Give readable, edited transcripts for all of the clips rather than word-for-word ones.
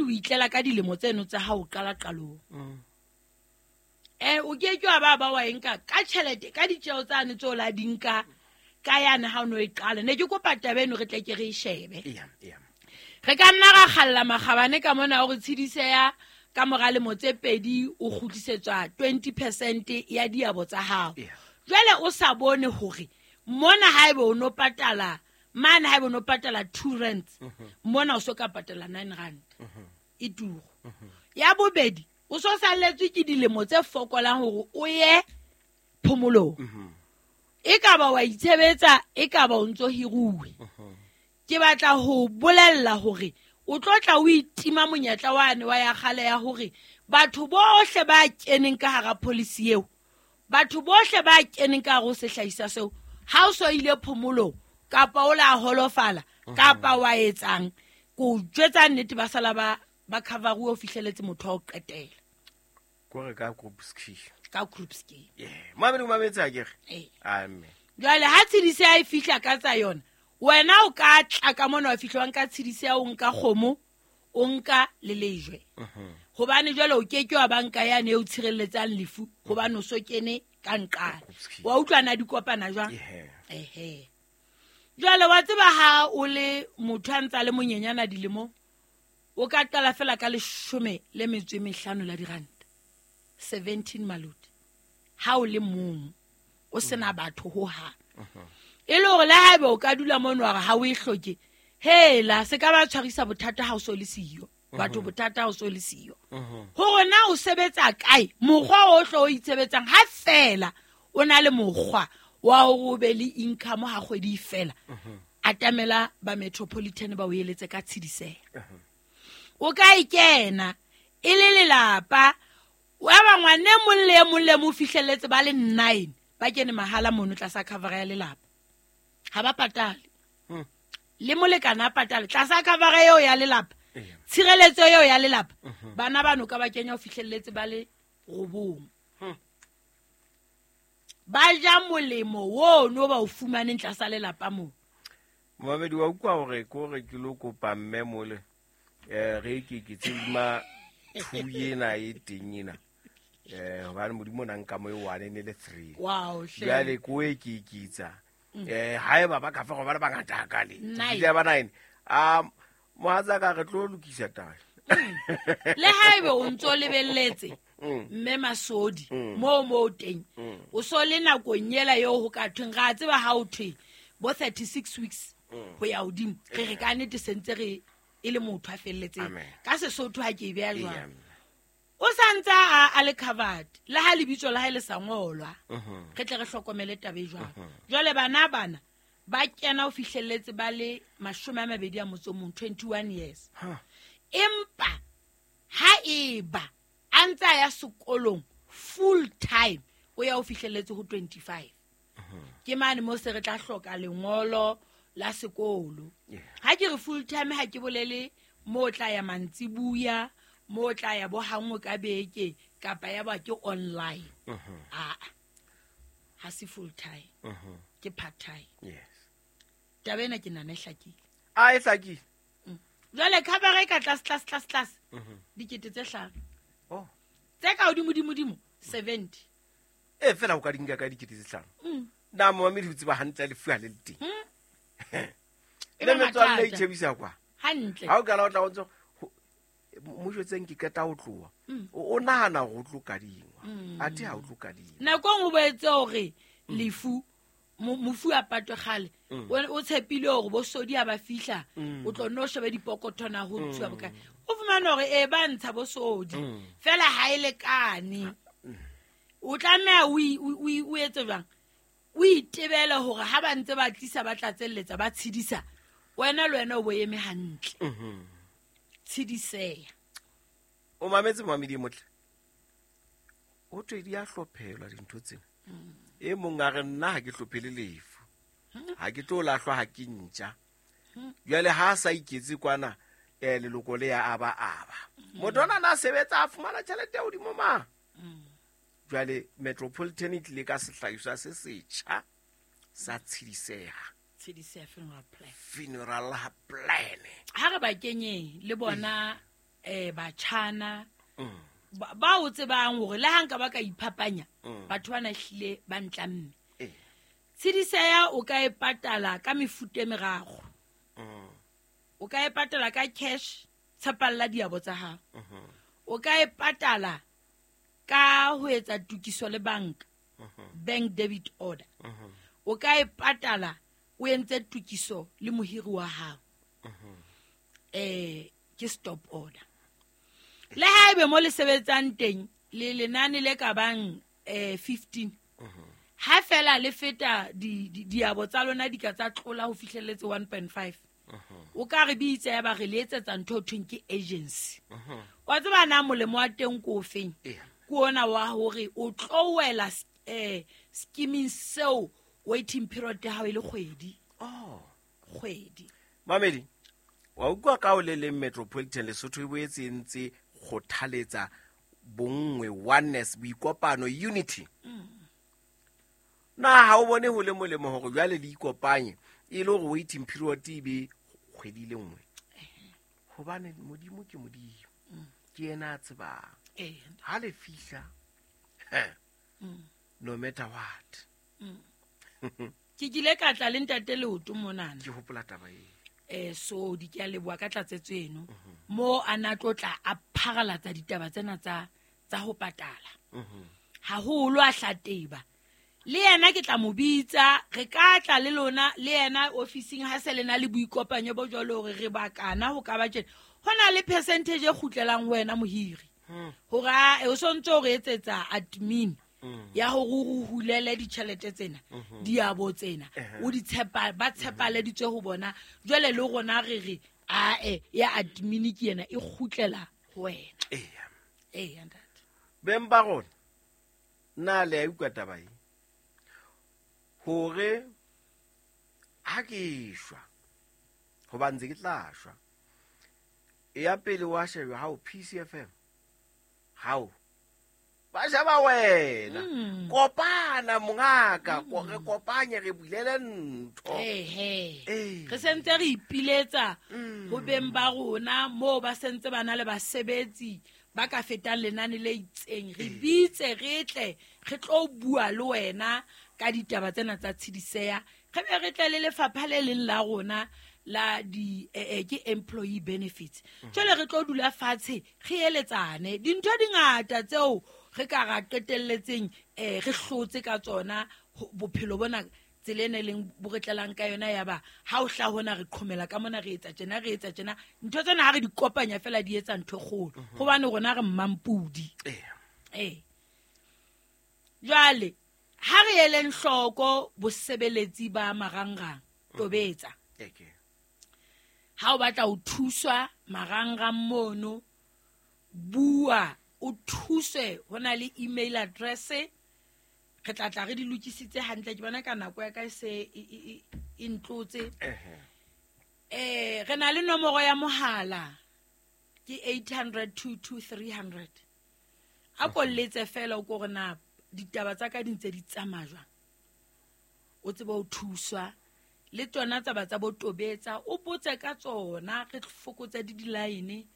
o itlela ka dilemo tseno tsa ha o qala qalong. O ke ke wa ba ba wa e nka ka tjhelete ka ditjeo tsane tseo la di nka ka yane ha o no e qala. Ne ke kopa taba eno re tle ke re e shebe. Re ka nna ra kgalla makgabane ka mona hore tshidiseya ka mora lemo tse 2 o kgutlisetswa 20% ya diabo tsa hao. Jwale o sa bone hore mona haebe o no patala mane haebe o no patala 2 rands, mona o so ka patala 9 rand. E turu. Ya bobedi, o so salletswe ke dilemo tse fokolang hore o ye phomolong. E ka ba wa itshebetsa, e ka ba o ntso hiruwe. Ke batla ho bolella hore o tlo tla o itima monyetla wane wa ya kgale ya hore batho bohle ba keneng ka hara policy eo, batho bohle ba keneng ka hare ho sehlahiswa seo, ha o so ile phomolong kapa o la holofala kapa wa etsang, ko jwetsa nnete ba sala ba cover-uwe ho fihleletse motho wa ho qetela. Kore ka group scheme. Ka group scheme. Yeah. Mamedi o mametse ha ke re? Ee. Amen. Jwale ha tshedise a e fihla ka tsa yona, wena o ka tla ka mona wa fihla wa nka tshedise ya o nka kgomo, o nka le lejwe. Hobane jwale o ke ke wa banka yane eo tshireletsang lefu, hobane o so kene ka nqane. Wa utlwa na di kopana jwang? Ehe. Jwale wa tseba ha o le motho a ntsa le monyenyana dilemong, o ka qala fela ka 15 la diranta. 17 maluti. Ha o le mong, o sena batho ho hang. E le hore le haebe o ka dula mono wa re ha o e hloke, hela se ka ba tshwarisa bothata ha o so le siyo. Batho bothata ha o so le siyo. Hore na o sebetsa kae, mokgwa o hlo o itshebetsang ha fela o na le mokgwa wa hore o be le income ha kgwedi e fela. Atamela ba Metropolitan ba o eletse ka tshediseho. O ka e kena e le lelapa, wa ba ngwane e mong le e mong le mong o fihlelletse ba le 9 ba kene mahala mono tlasa cover ya lelapa. Ha ba patale. Le molekane a patale tlasa cover eo ya lelapa. Tshireletso eo ya lelapa. Bana bano ka ba kenya ho fihlelletse ba le 9. Ba ja molemo oo no ba o fumaneng tlasa lelapa moo. Momamedi wa utlwa hore ke hore ke lo kopa mme mole. Re ke ke tsema 2 ena e teng ena. Hobane Modimo o na nka mo e 1 ne le 3. Wow, hle. Jwale ko e ke ikitsa. Haeba ba ka fa go ba le bangata hakale. Nine. Ke ba 9. Mohatsaka re tlo lokisa taba. Le haebe o ntso lebelletse mme Masodi moo teng. O so le nakong ela eo ho ka thweng, ra tseba ha o thwe bo 36 weeks ho ya hodimo. Re re ka nnete sentse re e le motho a felletseng. Amen. Ka Sesotho ha ke e beha jwang. Amen. O sa ntse a le covered, le ha lebitso la hae le sa ngolwa. Re tle re hlokomele taba e jwalo. Jwale bana bana ba kena ho fihlelletse ba le 21, 21 years. Empa ha eba a ntse a ya sekolong full time, o ya ho fihlelletse ho 25. Ke mane mo se re tla hloka lengolo la sekolo. Ha ke re full time ha ke bolele mo tla ya mantsibuya, mo tla ya bo hangwe ka beke kapa ya ba ke online. Aa, ha se full time. Ke part time. Taba ena ke nahana e hlakile. A e hlakile. Jwale cover e ka tlase, tlase, tlase, tlase. Dikete tse 5. Tse ka hodimo, hodimo, hodimo, 70. E fela o ka di nka ka dikete tse 5. Na momamedi o tseba hantle lefu ha le le teng. E Le ba metswalle e mathata. itjhebisa kwa. Hantle. Ha o kala o tla o ntso mo jwetseng ke qeta ho tloha. O nahana hore o tlo kadingwa. Athe ha o tlo kadingwa. Nako e nngwe o boetse hore lefu, mofu a patwe kgale. O tshepile hore bo Sodi ha ba fihla, o tlo nno shebe dipokothwana ho ntshuwa bokae. O fumane hore e ba ntsha bo Sodi. Fela ha e lekane. O tlameha o etse jwang? O itebele hore ha ba ntse ba tlisa ba tlatselletsa ba tshedisa, wena le wena o bo eme hantle. Tshediseha. O mametse momamedi e motle. Ho thwe di a hlophelwa dintho tsena. E mong a re nna ha ke hlophele lefu. Ha ke tlo lahlwa ha ke ntja. Jwale ha a sa iketse kwana, leloko le ya aba aba. Motho ona na sebetsa a fumana tjhelete ya hodimo ma. Jwale Metropolitan e tlile ka sehlahiswa se setjha sa tshediseha. Tshediseha funeral plan. Funeral plan. Ha re ba kenyeng le bona, Batjhana ba o tsebang hore le ha nka ba ka iphapanya batho bana hlile ba ntlamme. Tshidiseya o ka e patala ka mefuta e meraro. O ka e patala ka cash, tshepalla diabo tsa hao. O ka e patala ka ho etsa tokiso le banka, bank debit order. O ka e patala o entse tokiso le mohiri wa hao. Ke stop order. Le haebe mo le sebetsang teng le lenane le ka bang 15, ha fela le feta diabo tsa lona di ka tsa tlola ho fihlelletse 1.5, o ka re bitsa ya ba re le etsetsa ntho ho thweng ke agency. Wa tseba na molemo wa teng ko ofeng? Ke ona wa hore o tlo wela scheming seo waiting period ya hao e le kgwedi. Kgwedi. Mamedi, wa utlwa ka o le leng Metropolitan Lesotho e boetse e ntse kgothaletsa bonngwe, oneness, boikopano, unity. Na ha o bone ho le molemo hore jwale le ikopanye e le hore waiting period e be kgwedi le nngwe? Hobane Modimo ke Modimo, ke yena a tsebang. Ha le fihla, no matter what. Ke kile ka tla le ntate Leoto monana. Ke hopola taba eo. So di ke a leboha ka tlatsetso eno. Mo a na tlo tla a pharalatsa ditaba tsena tsa ho patala. Haholo a hlateba. Le yena ke tla mo bitsa, re ka tla le lona le yena ofising ha se lena le boikopanyo bo jwalo hore re bakana ho ka ba tjena. Ho na le percentage e kgutlelang ho wena mohiri. Hore o sontse o re etsetsa admin ya hore o hulele ditjhelete tsena, diabo tsena, o di tshepa, ba tshepaleditswe ho bona. Jwale le rona re re ae ya admin ke yena e kgutlela ho wena. Eya ntate. Beng ba rona, na le a utlwa taba e? Hore ha ke shwa, hoba ntse ke tla shwa, ya pele wa shejwa hao PCFM, hao ba sheba wena. Kopana mongaka, re kopanye re bulele ntho. Re sentse re ipiletsa ho beng ba rona moo ba sentse ba na le basebetsi ba ka fetang lenane le itseng. Re bitse re tle re tlo bua le wena ka ditaba tsena tsa tshidiseya. Re be re tle le lefapha le leng la rona la di ke employee benefits. Jwale re tlo dula fatshe re eletsane dintho di ngata tseo re ka ra qetelletseng re hlotse ka tsona bophelo bona tsela ena e leng bo re tlelang ka yona ya ba ha o hla hona re qhomela ka mona re etsa tjena re etsa tjena ntho tsena ha re di kopanya fela di etsa ntho e kgolo hobane rona re mmampudi. Jwale ha re eleng hloko bosebeletsi ba marangrang tobetsa. Ha o batla ho thuswa marangrang mono, bua o thuswe, ho na le email address, re tla tla re di lokisitse hantle. Ke bona ka nako ya ka e se e ntlotse. Re na le nomoro ya mohala ke 800 22 300. A kolletse fela o ko re na ditaba tsa ka di ntse di tsamaya jwang, o tsebe ho thuswa le tsona taba tsa bo tobetsa, o botse ka tsona, re fokotse di di-line.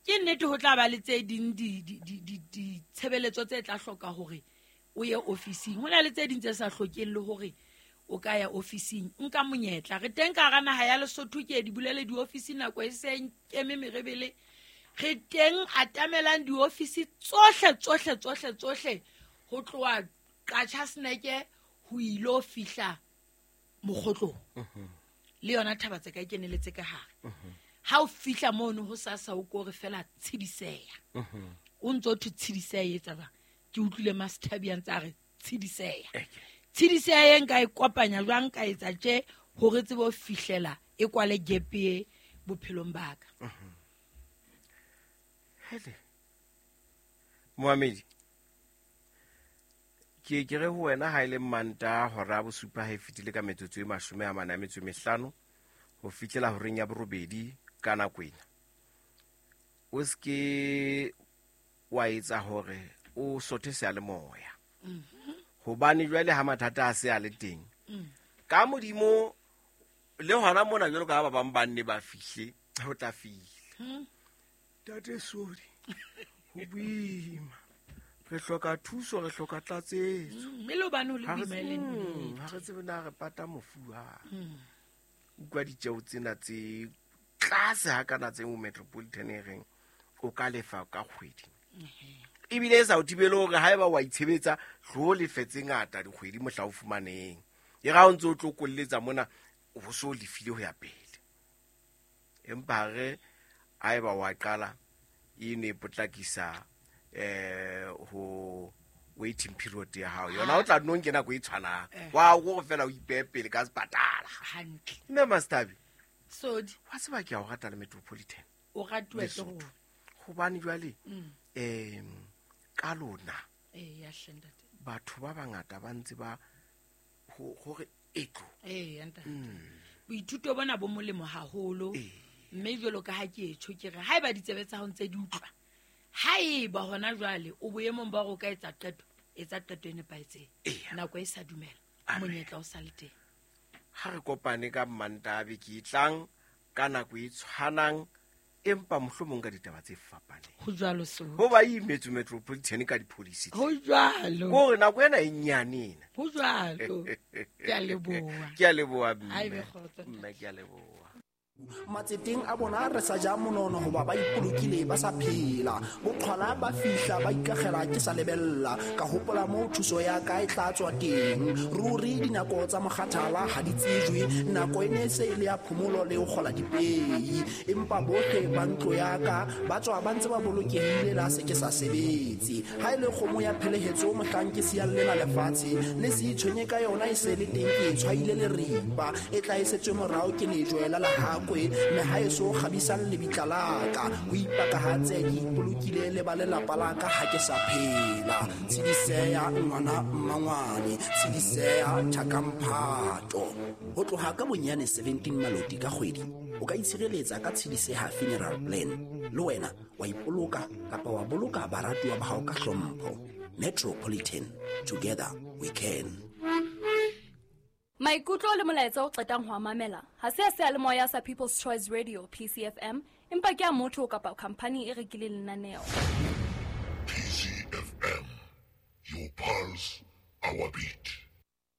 Ke nnete ho tla ba le tse ding ditshebeletso tse tla hloka hore o ye ofising. Ho na le tse ding tse sa hlokeng le hore o ka ya ofising. Nka monyetla re teng ka hara naha ya Lesotho, ke di bulele diofisi nako e seng keme merebele. Re teng atamelang diofisi tsohle tsohle tsohle tsohle ho tloha Qachaseneke ho ilo fihla Mokgotlong. Le yona thaba tse ka e keneletse ka hare. Ha o fihla mono ho sasa o ko re fela tshidiseya. O ntso thwe tshidiseya e etsa jwang? Ke utlwile Master a ntse a re tshidiseya. Tshidiseya e nka e kopanya jwang ka etsa tje hore tsebe ho fihlela e kwale gap e bophelong ba ka. Hele. Moamedi, ke ke re ho wena ha ile Manta hora bosupa ha e fetile ka metsotso e 45 ho fihlela horeng ya borobedi ka nako ena. O ske wa etsa hore o sothe seyalemoya. Hobane jwale ha mathata a se a le teng. Ka Modimo le hona mona jwalo ka ba bang ba nne ba fihle, ho tla fihla. Tate Sodi, ho boima, re hloka thuso, re hloka tlatsetso. Mme le hobane ho le Ha re boima e le nnete. Ha re tsebe na re pata mofu ha. Utlwa ditjeo tsena tse tlase ha kana tse mo Metropolitan e reng o ka lefa ka kgwedi. Ebile e sa o thibele hore haeba wa itshebetsa, tlo lefe tse ngata dikgwedi mohla o fumaneng. E ra o ntse o tlo kolletsa mona, o bo so lefile ho ya pele. Empa re haeba wa qala e ne potlakisa ho waiting period ya hao. Yona o tla nno nke nako e tshwanang. Wa o go fela o ipehe pele ka sepatala. Hantle. Mme Master Thabi, Sodi. wa tseba ke a o rata le Metropolitan. O ratuwa ke Lesotho. rona. Hobane jwale, ka lona, Ya hle, ntate. batho ba bangata ba ntse ba hore etlo. Ya ntate. Boithuto bona bo molemo haholo. Mme jwalo ka ha ke etjho ke re haeba ditsebe tsa hao ntse di utlwa, haeba hona jwale o boemong ba hore o ka etsa qeto, etsa qeto e nepahetseng. Nako e sa dumela, Amen. monyetla o sa le teng. Ha re kopane ka Mantaha beke e tlang ka nako e tshwanang, empa mohlomong ka ditaba tse fapaneng. Ho jwalo so. Ho ba imetswe Metropolitan ka di-policy tse. Ho jwalo. Hore nako ena e nyane ena. Ho jwalo. Ke a leboha. Ke a leboha, mme. Ha ebe kgotso, ntate. Mme, ke a leboha. Matseteng a bona re sa ja monono hoba ba ipolokile ba sa phela. Boqhwala ba fihla ba ikakgela ke sa lebella. Ka hopola moo thuso ya ka e tla tswa teng. Ruri dinako tsa mokgathala ha di tsejwe. Nako e ne se e le ya phomolo le ho kgola dipei. Empa bohle ba ntlo ya ka ba tswa ba ntse ba bolokehile la se ke sa sebetse. Ha e le kgomo ya phelehetso mohlang ke siyang lena lefatshe, le se itshwenye ka yona e se le teng ke e tshwaile leripa. E tla e setswe morao ke lejwe la lehakwe, mme ha e so kgabisang lebitla la ka. Ho ipakahatse ke ipolokile le ba lelapa la ka ha ke sa phela. Tshidiseya ngwana mmangwane, tshidiseya thakamphato. Ho tloha ka bonyane 17 maloti ka kgwedi, o ka itshireletsa ka Tshidiseha funeral plan. Le wena wa ipoloka kapa wa boloka baratuwa ba hao ka hlompho. Metropolitan, together we can. Maikutlo le molaetsa o qetang ho a mamela ha se a seyalemoya sa People's Choice Radio PCFM, empa ke a motho kapa khampani e rekileng lenaneo. PCFM, your pulse, our beat.